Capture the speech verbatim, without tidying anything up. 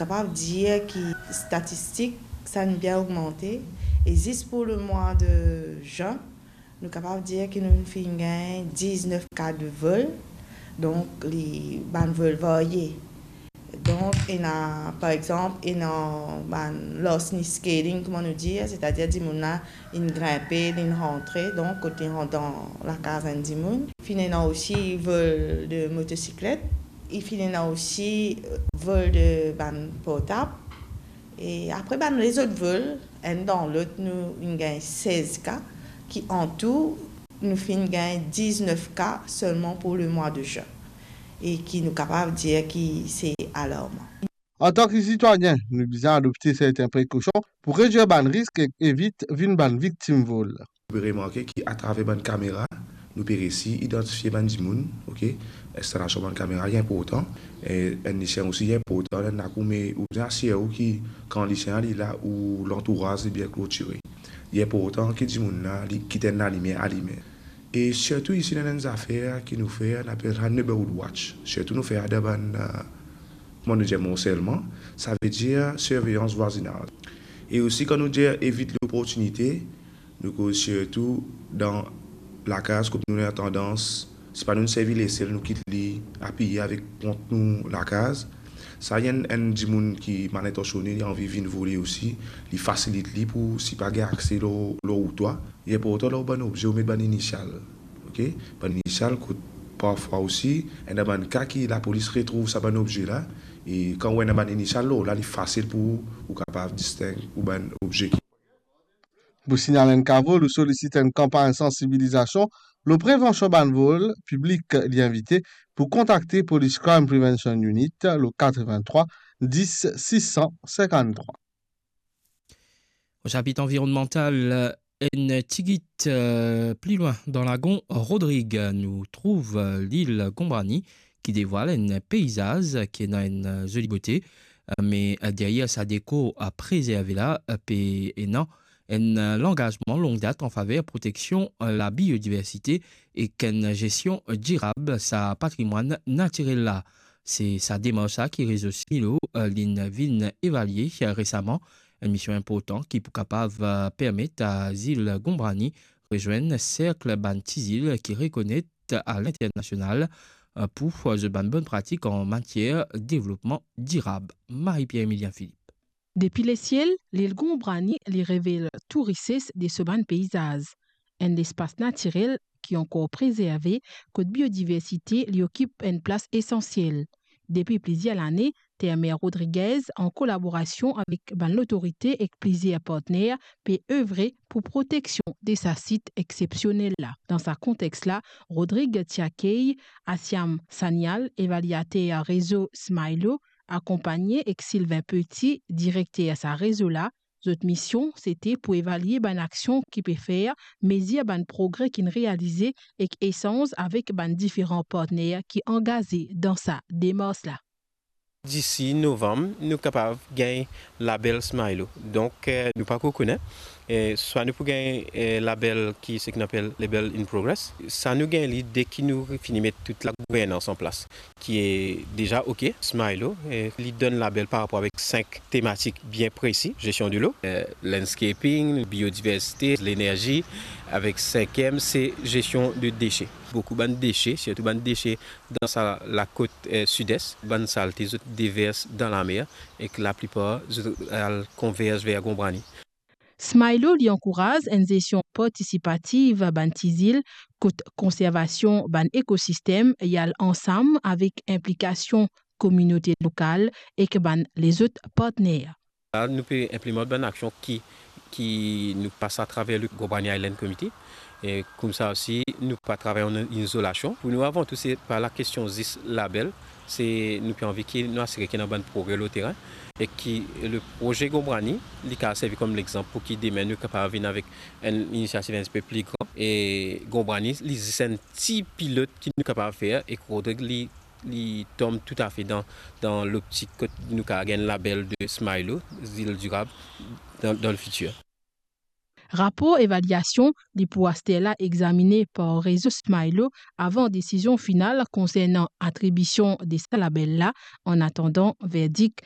Kapav dir ki statistik, sa inn bien ogmante, e zis pou lemwa de zin, nou kapav dir ki nou finn gagn diznef ka de vol, donk li bann vol varye. Donk, ena, par exanp, ena bann larceny scaling, kouma nou dir, setadir dimoun la, inn grinpe, inn rantre, donk, kot li rant dan lakaz enn dimoun. Finn ena osi vol de motosiklet, e finn ena osi, euh, vol de bann portab. E apre bann lezot vol, enn dan lot, nou inn gagn sez ka, ki antou, nou finn gagn diznef ka selman pou lemwa de zin, e ki nou kapav dir ki se alarman. Antan ki sitwayin, nou bizin adopte sertin prekosion pou redwir bann risk ek evit vinn bann viktim vol. Ou pe remarke ki atraver bann kamera, nou pe resi idantifie bann dimoun, ok? Instalasion bann kamera, li inportan. E enn lisien osi, li inportan, lè ou me, ou bizin asir ou ki kan lisien la, li la, ou lantouraz li bien klotire. Li inportan ki dimoun la, li kit enn lalimier alime. E sirtou isi, ena enn zafer ki nou fer, nou apel sa neighborhood watch. Sirtou nou fer dan bann, euh, kouma nou dir, Mont Selman, savedir sirveyans vwazinaz. E osi, kan nou dir evit loportinite, nou koz sirtou dan lakaz kot nou ena tandans, si pa nou servi lesel, nou kit li apiye avek pont nou lakaz. Sa, enn, enn dimoun ki malintansione, li anvi vinn vole osi, li fasilit li pou, si pa gagn akse lor, lor ou twa. Li inportan lor bann obze ou met bann inisial, ok? Bann inisial kot parfwa osi, ena bann ka ki lapolis retrouv sa bann obze la, e kan ou ena bann inisial lor la, li fasil pou ou kapav disteng ou bann obze ki. Pou signal enn ka vol ou solisit enn kanpagn sansibilizasion lor prevansion bann vol, piblik li invite pou kontakte Police Crime Prevention Unit lor katrevin-trwa dis sis san sinkant-trwa. Au chapitre environnemental, euh, enn tigit, euh, pli lwin dan lagon Rodrig, nou trouv, euh, lil Gombrani ki devwal enn peizaz ki ena enn, euh, zoli bote, euh, me, euh, deryer sa dekor, euh, prezerve la, euh, pe ena enn, euh, langazman long dat an faver proteksion, euh, labiodiversite ek enn zestion dirab sa patrimwann natirel la. Se sa demars la ki Rezo Smilo, euh, linn vinn evalie, euh, resaman. Enn mision inportan ki pou kapav, euh, permet a zil Gombrani rezwenn serk bann ti zil ki rekonet a linternasional, euh, pou, euh, zot bann bonn pratik an matier devlopman dirab. Marie-Pierre Emilien Philippe. Depi lesiel, lil Gombrani li revel tou rises de so bann peizaz. Enn lespas natirel ki ankor prezerve, kot biodiversite li okip enn plas esansiel. Depi plizier lane, Termer Rodriguez, an kolaborasion avek bann lotorite ek plizier partner, pe evre pou proteksion de sa sit exsepsionel la. Dan sa kontex la, Rodrig ti akey Asiam Sanyal, evaliater rezo Smilo, akonpagne ek Sylvain Petit, direkter sa rezo la. Zot mision, sete pou evalie bann aksion ki pe fer, mezir bann progre ki'nn realize ek esanz avek bann diferan partner ki angaze dan sa demars la. Disi novanm, nou kapav gagn label Smilo. Donk, eh, nou pa ankor kone, eh, swa nou pou gagn, eh, label ki, seki nou apel label in progress. Sa nou gagn li deki nou fini met tout lagouvernans an plas, ki e deza ok. Smilo, eh, li donn label par rapor avek sink tematik bien presi: gestion de l'eau, eh, landscaping, biodiversité, l'énergie, avek sinkiem, se gestion de déchets. Boukou bann dese, sirtou bann dese dan sa lakot, eh, sides, bann salte zot devers dan lamer ek laplipar zot al konverz ver Gombrani. Smilo li ankouraz enn zestion partisipativ bann ti zil, kot konservasion bann ekosistem li al ansam avek inplikasion kominote lokal ek bann lezot partner. La, nou pe inplimant bann aksion ki, ki nou pas atraver le Gombrani Island Committee. E koumsa osi, nou pa travay an izolasion. Pou nou, avan tou, se pa lakestion zis label, se nou pe anvi ki nou asire ki ena bann progre lor terin, e ki le proze Gombrani, li kapav servi kom lexanp pou ki demin nou kapav vinn avek enn inisiativ enn tipe pli gran. E Gombrani, li zis enn ti pilot ki nou kapav fer, e Rodrig, li, li tom toutafe dan, dan loptik kot nou kapav gagn label de Smilo, zil dirab, dan, dan lefitir. Rapor evaliasion li pou aster la egzamine par rezo Smilo avan desizion final konsernan atribision de sa label la, an atandan verdik